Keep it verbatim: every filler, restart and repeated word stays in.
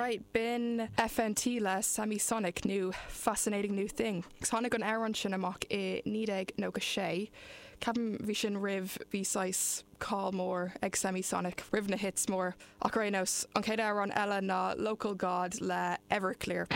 Alright, b'in FNT le Semisonic nó Fascinating New Thing. Tháinig an amhrán sin amach i naoi déag nócha sé. Ceapaim bhí sin roimh bhí saghas cáil mór ag Semisonic roimh na hits mór ach ar aon nós an chéad amhrán eile ná Local God le Everclear.